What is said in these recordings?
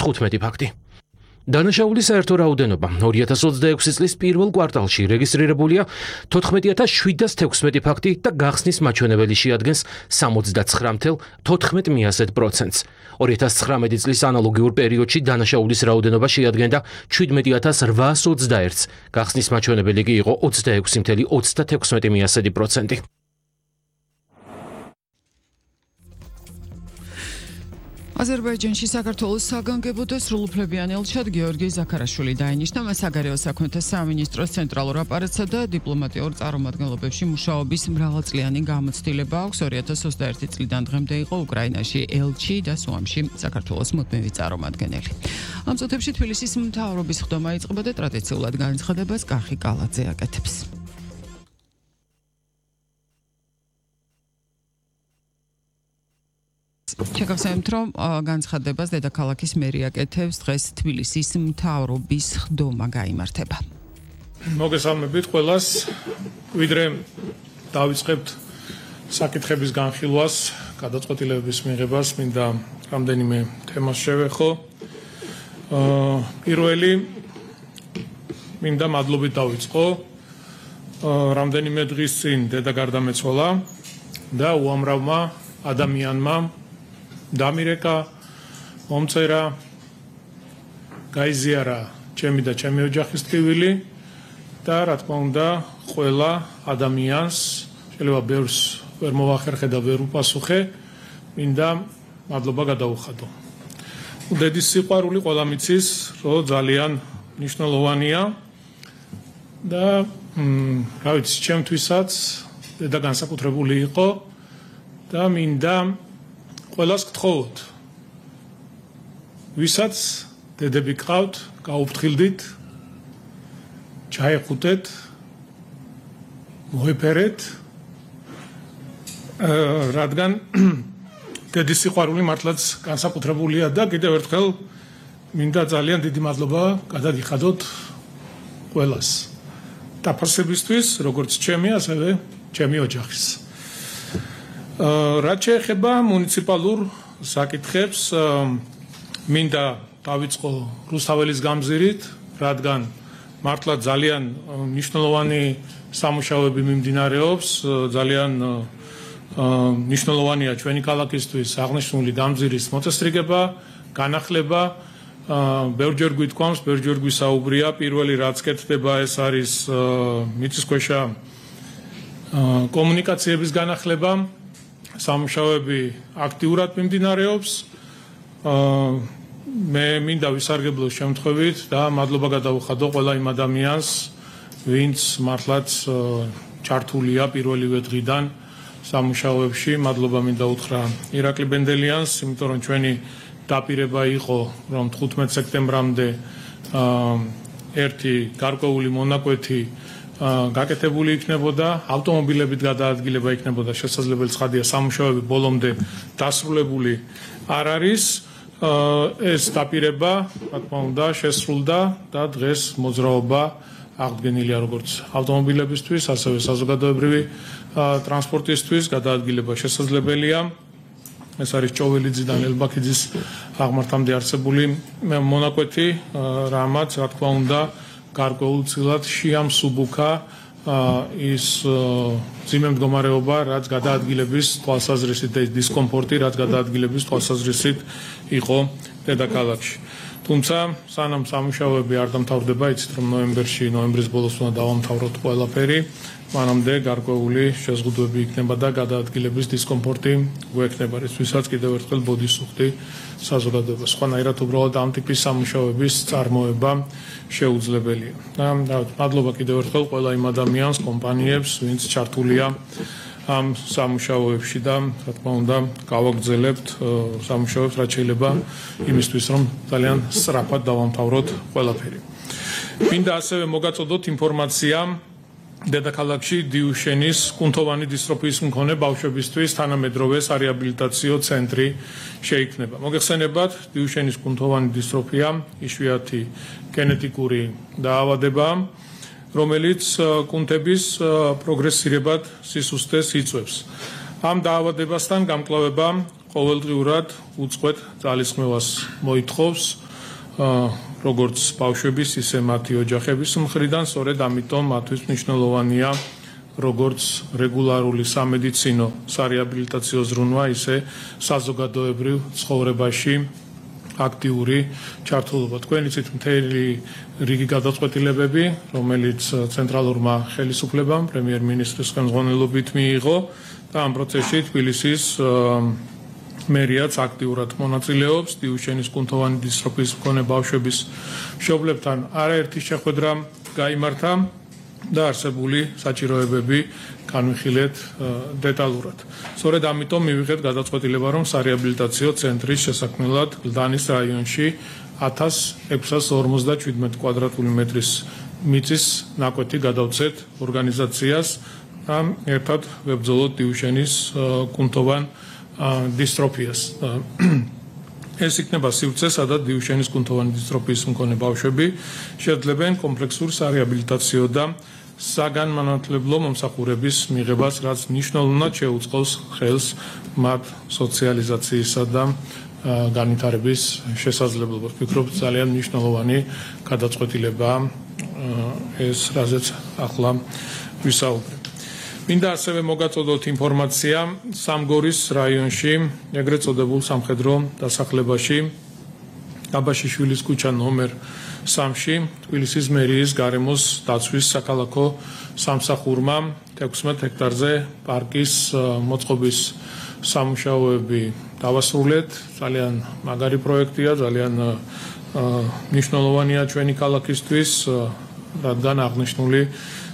15 ფაქტი. დანაშაულის საერთო რაოდენობა 2026 წლის პირველ კვარტალში რეგისტრირებულია 14716 ფაქტი და გახსნის მაჩვენებელი შეადგენს 79.14%. 2019 წლის ანალოგიურ პერიოდში დანაშაულის რაოდენობა შეადგენდა 17821-ს, გახსნის მაჩვენებელი კი იყო 26.36%. აზერბაიჯანში საქართველოს საგანგებო და სრულუფლებიანი ელჩად გეორგი ზაქარაშვილი დაინიშნა. მას საგარეო საქმეთა სამინისტროს ცენტრალურ აპარატსა და დიპლომატიურ წარმომადგენლობებში მუშაობის მრავალწლიანი გამოცდილება აქვს. 2021 წლიდან დღემდე იყო უკრაინაში ელჩი და სუამში საქართველოს მუდმივი წარმომადგენელი. ამ წუთებში თბილისის მთავრობის ხდომა იწყება და ტრადიციულად განცხადებას კახი კალაძე აკეთებს. შეგახსენებთ, რომ განცხადებას დედაქალაქის მერი აკეთებს, დღეს თბილისის მთავრობის ხდომა გაიმართება. მოგესალმებით ყველას, ვიდრე დავიწყებთ საკითხების განხილვას, გადაწყვეტილებების მიღებას, მინდა რამდენიმე თემას შევეხო. პირველი მინდა მადლობით დავიწყო. რამდენიმე დღის წინ დედა გარდამეცვალა და უამრავმა ადამიანმა დამირეკა, მომწერა, გაიზიარა ჩემი და ჩემი ოჯახის ტკივილი და რა თქმა უნდა ყველა ადამიანს შეიძლება ბევრს ვერ მოვახერხე და ვერ უპასუხე, მინდა მადლობა გადაუხადო. დედის სიყვარული ყველა მიცის, რომ ძალიან მნიშვნელოვანია და რა ვიცი, ჩემთვისაც დედა განსაკუთრებული იყო და მინდა ყველას გთხოვოთ, ვისაც დედები გყავთ, გაუფრთხილდით, ჩაეხუტეთ, მოეფერეთ, რადგან დედის სიყვარული მართლაც განსაკუთრებულია და კიდევ ერთხელ მინდა ძალიან დიდი მადლობა გადაგიხადოთ ყველას. დაფარსებისთვის, როგორც ჩემი, ასევე ჩემი ოჯახის. რაც შეეხება მუნიციპალურ საკითხებს, მინდა დავიწყო რუსთაველის გამზირით, რადგან მართლა ძალიან მნიშვნელოვანი სამუშაოები მიმდინარეობს, ძალიან მნიშვნელოვანია ჩვენი ქალაქისთვის აღნიშნული გამზირის მოწესრიგება, განახლება. ბევრჯერ გვითქვამს, ბევრჯერ გვისაუბრია, პირველი რაც კეთდება ეს არის მიწისქვეშა კომუნიკაციების განახლება. სამუშაოები აქტიურად მიმდინარეობს. მე მინდა ვისარგებლო შემთხვევით და მადლობა გადაუხადო ყველა იმ ადამიანს, ვინც მართლაც ჩართულია პირველივე დღიდან სამუშაოებში. მადლობა მინდა უთხრა ირაკლი ბენდელიანს, იმიტომ რომ ჩვენი დაპირება იყო, რომ 15 სექტემბრამდე ერთი გარკვეული მონაკვეთი გაკეთებული იქნებოდა, ავტომობილებით გადაადგილება იქნებოდა შესაძლებელი, ცხადია, სამუშაოები ბოლომდე დასრულებული არ არის. ეს დაპირება, რა თქმა უნდა, შესრულდა და დღეს მოძრაობა აღდგენილია როგორც ავტომობილებისთვის, ასევე საზოგადოებრივი ტრანსპორტისთვის, გადაადგილება შესაძლებელია. ეს არის ჭოველიძიდან ელბაქიძის აღმართამდე არსებული მონაკვეთი, რამაც, რა თქმა უნდა, გარკვეულწილად შეამსუბუქა ის ძიმე მდგომარეობა, რაც გადაადგილების თვალსაზრისით და ის დისკომფორტი, რაც გადაადგილების თვალსაზრისით იყო დედაქალაქში. თუმცა, სანამ სამუშაოები არ დამთავრდება, იცით რომ ნოემბრის ბოლოს უნდა დავამთავროთ ყველაფერი, მანამდე გარკვეული შეზღუდვები იქნება და გადაადგილების დისკომფორტი გვექნება, რისთვისაც კიდევ ერთხელ ბოდისუხდი საზოგადოებას. სხვანაირად უბრალოდ ამ ტიპის სამუშაოების წარმოება შეუძლებელია. მადლობა კიდევ ერთხელ ყველა იმ ადამიანს, კომპანიებს, ვინც ჩართულია ამ სამუშაოებში და რა თქმა უნდა გავაგრძელებთ სამუშაოებს, რაც შეიძლება იმისთვის, რომ ძალიან სწრაფად დავამთავროთ ყველაფერი. მინდა ასევე მოგაწოდოთ ინფორმაცია დედაქალაქში დიუშენის კუნთოვანი დისტროფიის მქონე ბავშვებისთვის თანამედროვე სარეაბილიტაციო ცენტრი შეიქმნება. მოგეხსენებათ, დიუშენის კუნთოვანი დისტროფია იშვიათი გენეტიკური დაავადებაა, რომელიც კუნთების პროგრესირებად სისუსტეს იწვევს. ამ დაავადებასთან გამკლავება ყოველდღიურად უწყვეტ ძალისხმევას მოითხოვს როგორც ბავშვების, ისე მათი ოჯახების მხრიდან, სწორედ ამიტომ მათთვის მნიშვნელოვანია როგორც რეგულარული სამედიცინო სარეაბილიტაციო ზრუნვა, ისე საზოგადოებრივ ცხოვრებაში აქტიური ჩართულობა. თქვენ იცით მთელი რიგი გადაწყვეტილებები, რომელიც ცენტრალურმა ხელისუფლებამ პრემიერ-მინისტრის ხელმძღვანელობით მიიღო და ამ პროცესში თბილისის მერიაც აქტიურად მონაწილეობს. დიუშენის კუნთოვანი დისტროფიის მქონე ბავშვების მშობლებთან არაერთი შეხვედრა გაიმართა და არსებული საჭიროებები განვიხილეთ დეტალურად. სწორედ ამიტომ მივიღეთ გადაწყვეტილება, რომ სარეაბილიტაციო ცენტრის შესაქმნელად გლდანის რაიონში 1657 კვადრატული მეტრის მიწის ნაკვეთი გადავცეთ ორგანიზაციას და ერთად ვებრძოლოთ დიუშენის კუნთოვან დისტროფიას. ეს იქნება სივრცე, სადაც დიუშენის კუნთოვანი დისტროფიის მქონე ბავშვები შეძლებენ კომპლექსურ სარეაბილიტაციო და საგანმანათლებლო მომსახურების მიღებას, რაც მნიშვნელოვნად შეუწყობს ხელს მათ სოციალიზაციისა და განვითარების შესაძლებლობას. ვფიქრობ, ძალიან მნიშვნელოვანი გადაწყვეტილებაა ეს, რაზეც ახლა ვისაუბრებ. მინდა ასევე მოგაწოდოთ ინფორმაცია სამგორის რაიონში, ეგრეთ წოდებულ სამხედრო დასახლებაში, აბაშიშვილის ქუჩა ნომერ 3-ში, თბილისის მერიის გარემოს დაცვის საქალაქო სამსახურმა 16 ჰექტარზე პარკის მოწყობის სამუშაოები დავასრულეთ. ძალიან მაგარი პროექტია, ძალიან მნიშვნელოვანია ჩვენი ქალაქისთვის, რადგან აღნიშნული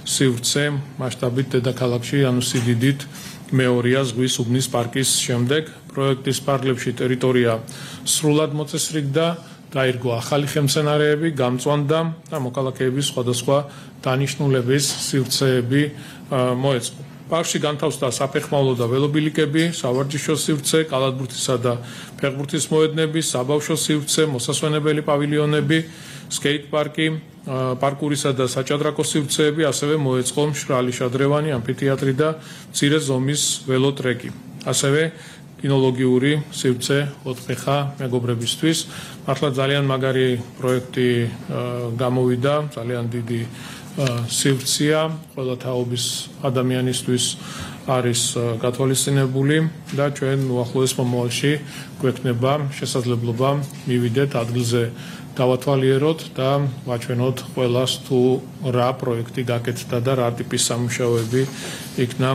სივრცე მასშტაბით დედაქალაქში, ანუ სიდიდით მეორეა ზღვის უბნის პარკის შემდეგ. პროექტის პარკლებში ტერიტორია სრულად მოწესრიგდა, დაირგო ახალი ხელმცენარეები, გამწვანდა და მოქალაქეების სხვადასხვა დანიშნულების სივრცეები მოეწყო. პარკში განთავსდა საფეხმავლო და ველობილიკები, სავარჯიშო სივრცე, კალათბურთისა და ფეხბურთის მოედნები, საბავშვო სივრცე, მოსასვენებელი პავილიონები, სკეით პარკი, პარკურისა და საჭადრაკო სივრცეები, ასევე მოეწყო მშრალი შადრევანი, ამფითეატრი და მცირე ზომის ველოტრეკი. ასევე კინოლოგიური სივრცე 4 ფეხა მეგობრებისთვის. მართლა ძალიან მაგარი პროექტი გამოვიდა, ძალიან დიდი სივრცეა, ყველა თაობის ადამიანისთვის არის გათვალისწინებული და ჩვენ უახლოეს მომავალში გვექნება შესაძლებლობა მივიდეთ ადგილზე, დავათვალიეროთ და ვაჩვენოთ ყველას თუ რა პროექტი გაკეთდა და რა ტიპის სამუშაოები იქნა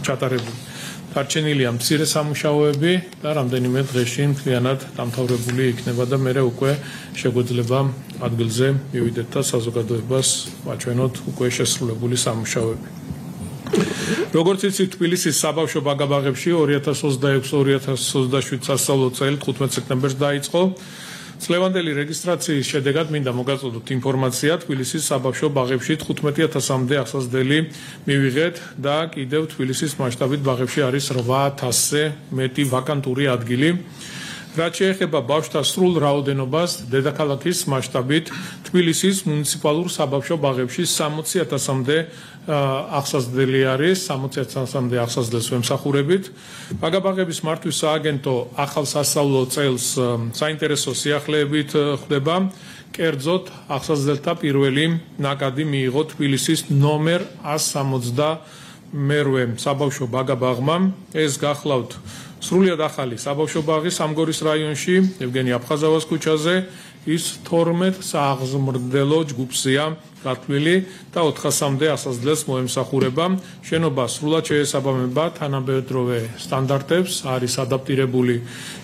ჩატარებული. დარჩენილია მცირე სამუშაოები და რამდენიმე დღეში მთლიანად დამთავრებული იქნება და მერე უკვე შეგვეძლება ადგილზე მივიდეთ და საზოგადოებას ვაჩვენოთ უკვე შესრულებული სამუშაოები. როგორც იცით, თბილისის საბავშვო ბაგაბაღებში 2026-2027 სასწავლო წელი 15 სექტემბერს დაიწყო. წლევანდელი რეგისტრაციის შედეგად მინდა მოგაწოდოთ ინფორმაცია, თბილისის საბავშვო ბაღებში 15,000-მდე ახსაზრდელი მივიღეთ და კიდევ თბილისის მასშტაბით ბაღებში არის 8,000-ზე მეტი ვაკანტური ადგილი. რაც შეეხება ბავშვთა სრულ რაოდენობას, დედაქალაქის მასშტაბით თბილისის მუნიციპალურ საბავშვო ბაღებში 60,000-მდე ახსაზრდელი არის, 60,000-მდე ახსაზრდელს ვემსახურებით. ბაგაბაღების მართვის სააგენტო ახალ სასწავლო წელს საინტერესო სიახლეებით ხდება. კერძოდ, ახსაზრდელთა პირველი ნაკადი მიიღო თბილისის ნომერ 168 საბავშვო ბაგაბაღმა. ეს გახლავთ სრულიად ახალი საბავშვო ბაღი სამგორის რაიონში, ევგენი აფხაზავას ქუჩაზე, ის 12 სააღზმრდელო ჯგუფზეა გათვლილი და 400-მდე ახსაზრდელს მოემსახურება. შენობა სრულად შეესაბამება თანამედროვე სტანდარტებს, არის ადაპტირებული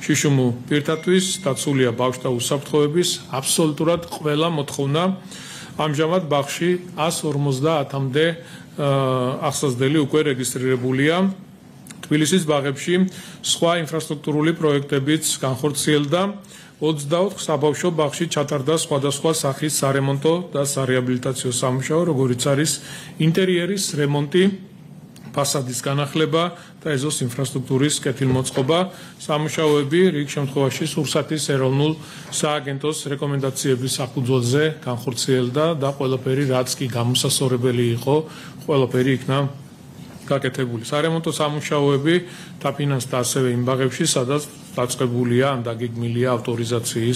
შიშუმუ პირთათვის, დაცულია ბავშვთა უსაფრთხოების აბსოლუტურად ყველა მოთხოვნა. ამჟამად ბაღში 150-მდე ახსაზრდელი უკვე რეგისტრირებულია. თბილისის ბაღებში სხვა ინფრასტრუქტურული პროექტებიც განხორციელდა. 24 საბავშვო ბაღში ჩატარდა სხვადასხვა სახის სარემონტო და სარეაბილიტაციო სამუშაო, როგორიც არის ინტერიერის რემონტი, ფასადის განახლება და ეზოს ინფრასტრუქტურის კეთილმოწყობა. სამუშაოები რიგ შემთხვევაში სურსათის ეროვნულ სააგენტოს რეკომენდაციების საფუძველზე განხორციელდა და ყველაფერი, რაც კი გამოსასწორებელი იყო, ყველაფერი იქნა გაკეთებული. სარემონტო სამუშაოები დაფინანსდა ასევე იმ ბაღებში, სადაც დაწყებულია ან დაგეგმილია ავტორიზაციის